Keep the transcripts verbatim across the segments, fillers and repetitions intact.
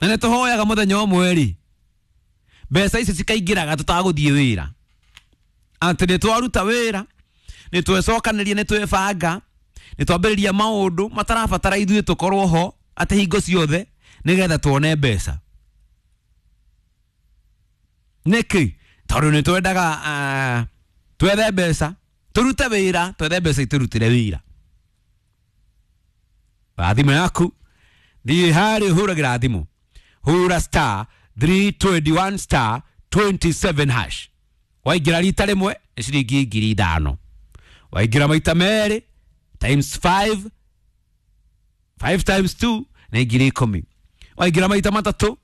Na nĩ tũhoyaga mũthenya ũmwe rĩ, mbeca ici cikaingĩraga tũtagũthiĩ wĩra, atĩ nĩ twaruta wĩra, nĩ twecokanĩria, nĩ twebanga, nĩ twambĩrĩria maũndũ matarabatara ithuĩ tũkorwo ho atĩ hingo ciothe nĩgetha tuone mbeca. Nĩkĩ? Tondũ nĩ twendaga uh, twethe mbeca, tũrute wĩra, twethe mbeca itũrutĩre wĩra. Wa thimũ yaku, thiĩ harĩa ũhũragĩra thimũ, hũra star three twenty-one star twenty-seven hash. Waingĩra rita rĩmwe nĩ ciringi ngiri ithano, waingĩra maita merĩ times five, five times two nĩ ngiri ikũmi, waingĩra maita matatũ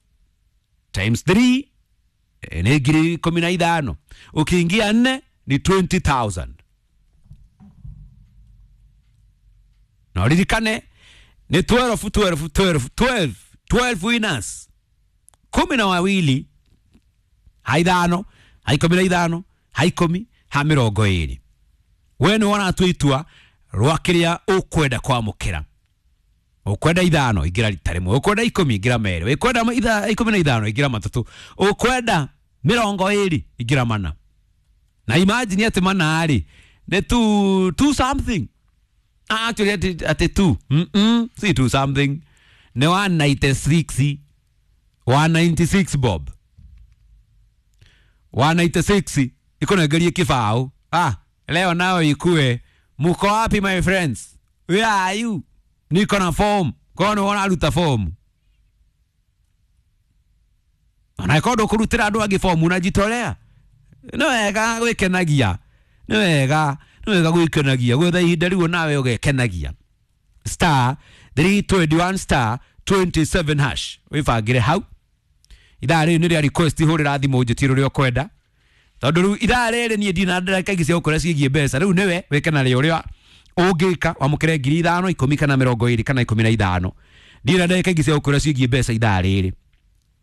times three nĩ ngiri ikũmi na ithano, ũkĩingia nne ni twenty thousand. Na ũririkane ni twelve, twelve, twelve, twelve, twelve winners, kumi na wawili, ha ithano, ha ikũmi na ithano, ha ikũmi, ha mĩrongo ĩrĩ. We nĩ wona itua rwa kĩrĩa ũkwenda kwamũkĩra. Ũkwenda ithano ingĩra rita rĩmwe, ũkwenda ikũmi ingĩra merĩ, ũkwenda ikũmi na ithano ingĩra matatũ, ũkwenda mĩrongo ĩrĩ ingĩra mana. Na imagine atĩ mana rĩ nĩ two, two something. Actually atĩ, atĩ two. Mm -mm, si two something. Nĩ one ninety-six, one ninety-six bob. one ninety-six ikonengerie kibao. Ah, leo nao ikue. Muko wapi my friends? Where are you? Niko na form. Kono wanaruta form. Ona ikondo kurutira andu angi form unajitolea. Nĩ wega gwikenagia. Nĩ wega, nĩ wega gwikenagia. Gwetha ihinda riu nawe ugekenagia. Star three twenty-one star twenty-seven hash. Wibangire hau. Ithaa rĩrĩ nĩ rĩa request, hũrĩra thimũ njĩtie rũrĩa ũkwenda. Tondũ rĩu ithaa rĩrĩ niĩ ndina ndĩreka ingĩ cia gũkũra ciĩgiĩ mbeca. Rĩu nĩwe wĩke na rĩ ũrĩa ũngĩka, wamũkĩre ngiri ithano, ikũmi kana mĩrongo ĩrĩ kana ikũmi na ithano. Ndina ndĩreka ingĩ cia gũkũra ciĩgiĩ mbeca ithaa rĩrĩ.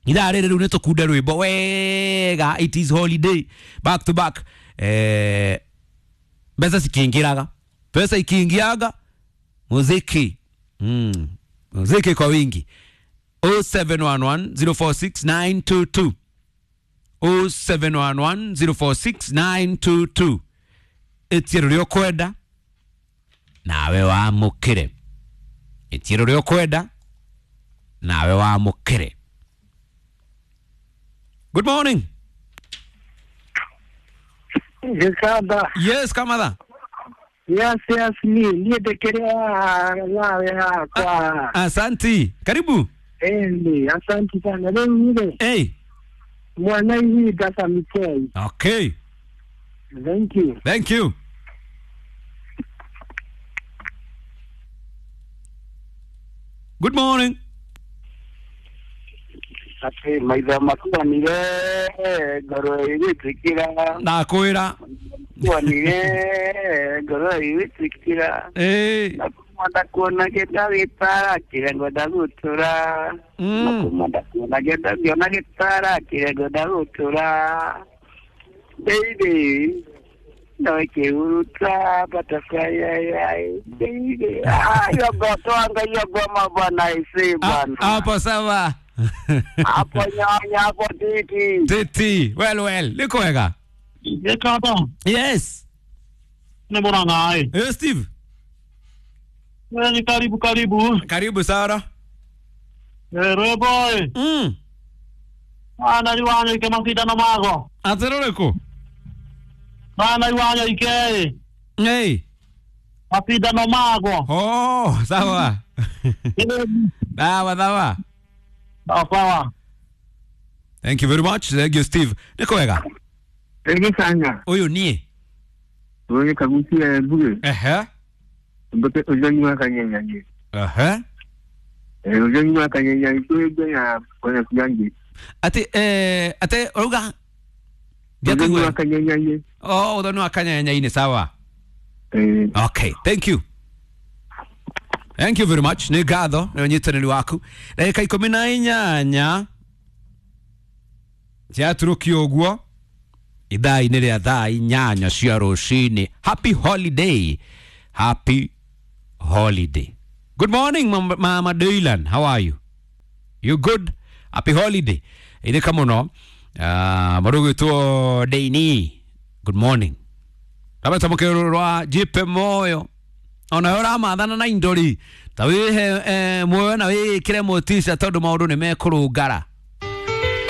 Ithaa rĩrĩ rĩu nĩ tũkunde rwĩmbo wega, it is holiday back to back. Eh, mbeca cikiingĩraga, pesa ikiingiaga, muziki. Mm, muziki kwa wingi. oh seven one one, zero four six, nine two two. oh seven one one, zero four six, nine two two. Ĩtie rũrĩa ũkwenda nawe wamũkĩre. Ĩtie rũrĩa ũkwenda nawe wamũkĩre. Good morning. Yes, Yes, Kamatha. Yes, yes, ni ni ndekerea nawe hakwa. Asanti. Karibu. Eh, asante sana. Leo ni Hey. Mwana hii dasa Okay. Thank you. Thank you. Good morning. Ate maitha makwa nire ngoro igĩtĩkĩra. Ndakwĩra. Makwa nire ngoro igĩtĩkĩra. Eh. Nakuma ndakuona gĩta gĩtara kĩrĩa ngwenda gũtũra. Nakuma ndakuona gĩta ngĩona gĩtara kĩrĩa ngwenda gũtũra. Baby. No ikihuruta butterfly ai baby. Ah, yogo twanga yogo mabwana isi bwana. Hapo sawa. Hapo nyanya hapo titi. Titi. Well well, niko wega. Yekata. Yes. Ni mbona ngai? Eh, Steve. Ni karibu karibu. Karibu Sara. Eh, boy. Mm. Ana liwanya ike masita na mago. Ateroreko. Ana liwanya ike. Hey. Masita na mago. Oh, sawa. Sawa sawa. Sawa. Thank you very much. Thank you Steve. Niko wega. Ege sanya. Uyu nie. Wewe kagusia mbuge. Ehe. Mbote ujanywa kanyanya. Ehe. Eh ujanywa kanyanya kwegwe ya kwenye kujangi. Ati eh ate oruga. Ujanywa kanyanya. Oh, ujanywa kanyanya ine sawa. Eh. Okay, thank you. Thank you very much. Nĩ ngatho nĩ ũnyitanĩri waku. Ndagĩka ikũmi na inyanya ciaturũkio ũguo ithaa-inĩ rĩa thaa inyanya cia rũcinĩ. Happy holiday. Happy holiday. Good morning, Mama, Mama Dylan. How are you? You good? Happy holiday. Ithika muno. Uh, marugitwo Deini. Good morning. Rabeta mukero rwa jipe moyo. Ona yo ramathana na indo ri ta wihe eh, muoyo na wikire motisha tondu maundu ni mekurungara.